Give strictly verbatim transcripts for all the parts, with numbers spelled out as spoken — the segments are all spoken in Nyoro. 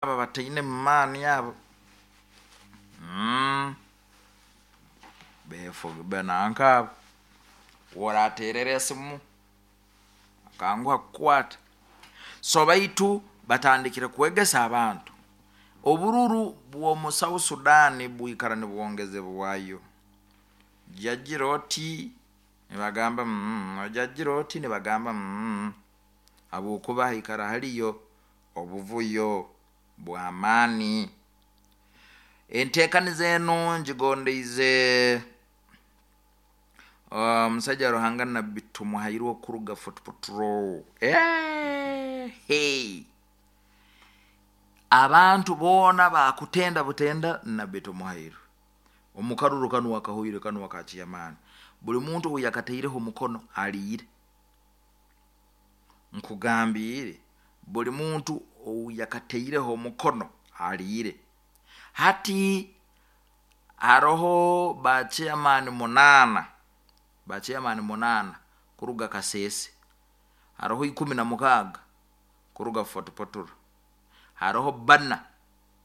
Aba bataine mumaani abo mm. Nanka abo oraterera esimu akanguha kukwata. So baitu batandikire kwegesa abantu. Obururu bwomu South Sudan bwikara nibwongezebwayo, jajira oti nibagamba mm, jajira oti nibagamba mm, habwokuba haikara haliyo obuvuyo bw'amaani. Entekaniza enu ngigondeize omusaija Ruhanga Nabbi Tumuhairwe kuruga Fort Portal. Hey. Abantu boona bakutenda butenda Nabbi Tumuhairwe omukaruru kanu akahoire kanu aka chairman, buli muntu obu yakataireho omukono aliire. Nkugambiire, buli muntu ou yakataireho omukono aliire. Hati haroho ba chairman munaana, ba chairman munaana kuruga Kasese, haroho ikumi na mukaaga kuruga Fort Portal, haroho bbana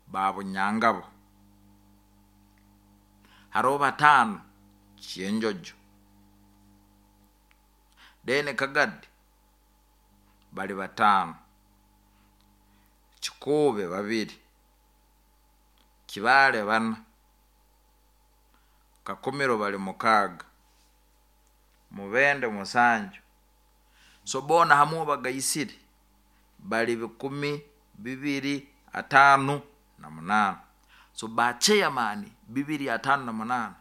ba Bunyangabo, haroho bataano Kyenjojo, then Kagadi bali bataano, Kikuube babiri, Kibaale bana, Kakumiro bali mukaaga, Mubende musanju. So boona hamu obagaisire bali bikumi bibiri ataano na munaana. So ba chairman bibiri ataano na munaana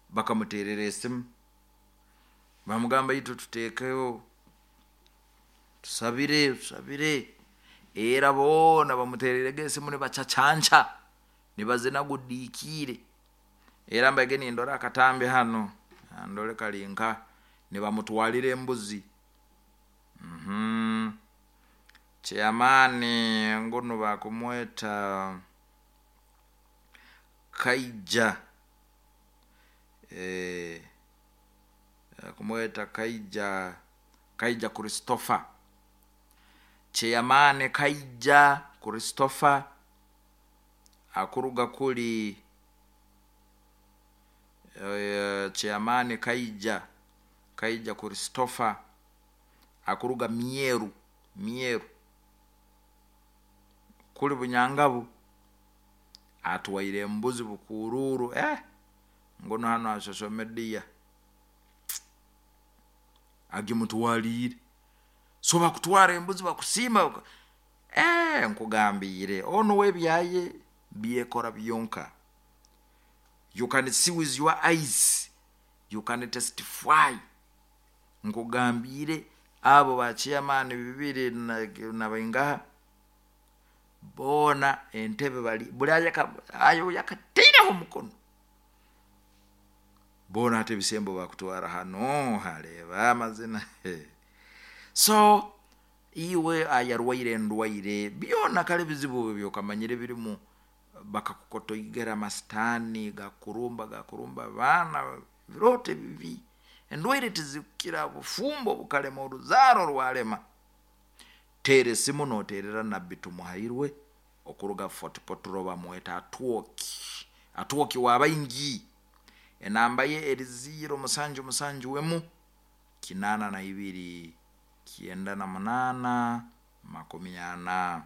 bakamuteerera esimu bamugamba, itwe tuteekeho, tusabire tusabire. Era boona bamuteeriirege esimu nibacacanca, nibazina gudiikiire. Era mbaire nindora akatambi hanu, ndole kali nkaha, nibamutwalira embuzi. mm Chairman ngunu bakumweta Kaija, eh, bakumweta Kaija, Kaija Christopher, chairman Kaija Christopher akuruga kuli chairman Kaija, Kaija Christopher akuruga Myeru, Myeru kuli Bunyangabu, atwaire embuzi bukuruuru, eh, ngunu hanu ha social media agimutwaliire. So bakutwara embuzi bakusiima, eh, nkugambiire, onu uwe ebyaye byekora byonka. You can see with your eyes, you can testify. Nkugambiire, abo ba chairman bibiri na baingaha boona entebe bali buli ayo yakataireho omukono, boona hati ebisembo bakutwara hanu haleeba amazina. So iwe ayarwaire endwaire byona, kale ebizibu ebyokamanyire birimu, bakakukotoigera amasitaani gakurumba gakurumba abaana, ebirooto ebibi, endwaire tizikukira, obufumbo bukalema, oruzaaro rwalema, teera esimu noteerera Nabbi Tumuhairwe okuruga Fort Portal, bamweta Atwoki, Atwoki w'abaingi. Enamba ye eri ziro musanju musanju emu kinaana na ibiri kyenda na munaana makumi ana,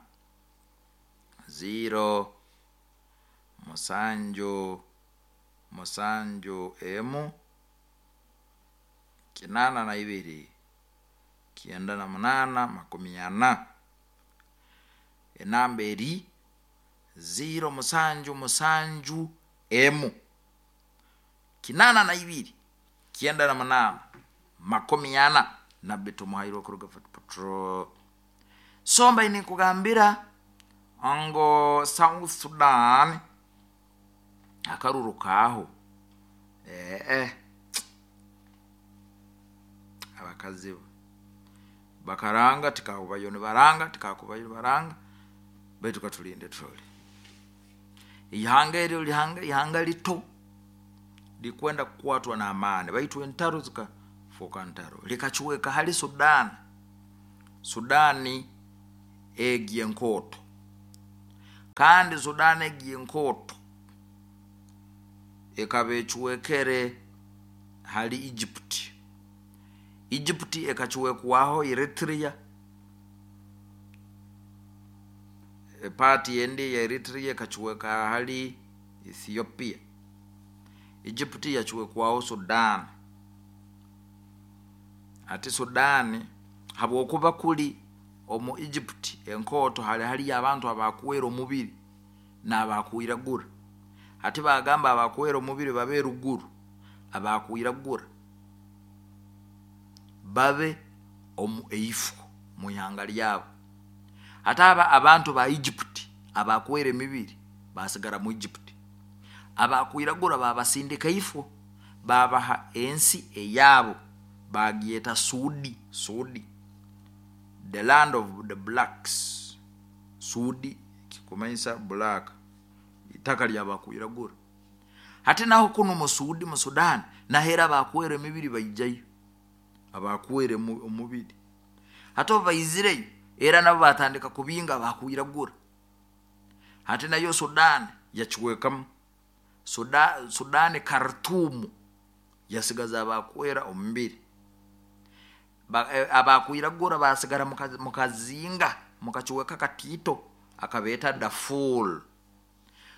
ziro musanju musanju emu kinaana na ibiri kyenda na munaana makumi ana. Enamba eri ziro musanju musanju emu kinaana na ibiri kyenda na munaana makumi ana, Nabbi Tumuhairwe kuruga Fort Portal. So mbaire ninkugambira ngu South Sudan akaruru kaaho, eh, abakazi bakaranga tikakubayo nibaranga, tikakubayo nibaranga, baitu katulinde turole. Ihanga eryo ihanga lito likwenda kukwatwa n'amaani, baitu entaro zikafooka ntaro, likacweka hali Sudan. Sudani egi enkooto. Kandi Sudan egi enkooto ekaba ecwekere hali Egypt. Egypt ekacwekwaho Eritrea, part endi ya Eritrea ekacweka hali Ethiopia. Egypt yacwekwaho Sudan. Ati Sudan habwokuba kuli omu Egypt enkooto hali haliyo abantu abakwera omubiri n'abakwiragura, hati bagamba abakwera omubiri babe ruguru, abakwiragura babe omu eifo mu ihanga lyabo. Hati aba abantu ba Egypt abakwera emibiri basigara mu Egypt, abakwiragura babasindika ifo, babaha ensi eyabo, bagyeta Sudi. Sudi, the land of the blacks. Sudi kikumanyisa black, itaka lyabakwiragura. Hati naho kunu mu Sudi, mu Sudan, nahera abakwera emibiri baijayo, abakwera omubiri. Hati obu baizireyo era nabo batandika kubinga abakwiragura. Hati nayo Sudan yacwekamu. Sudan, Sudan Khartoum yasigaza abakwera omubiri, abakwiragura basigara mukazinga mukacweka katiito akabeeta Darfur.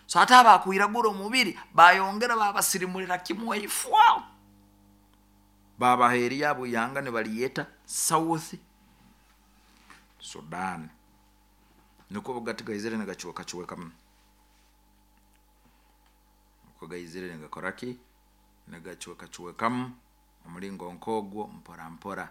So hati abakwiragura omubiri bayongera babasirimulira kimu eifo, babaha eryabo ihanga nibalyeta South Sudan. Nikwo gati gaizire nigacwekacwekamu, uko gaizire nigakoraki, nigacwekacwekamu omulingo nkogwo mpora mpora.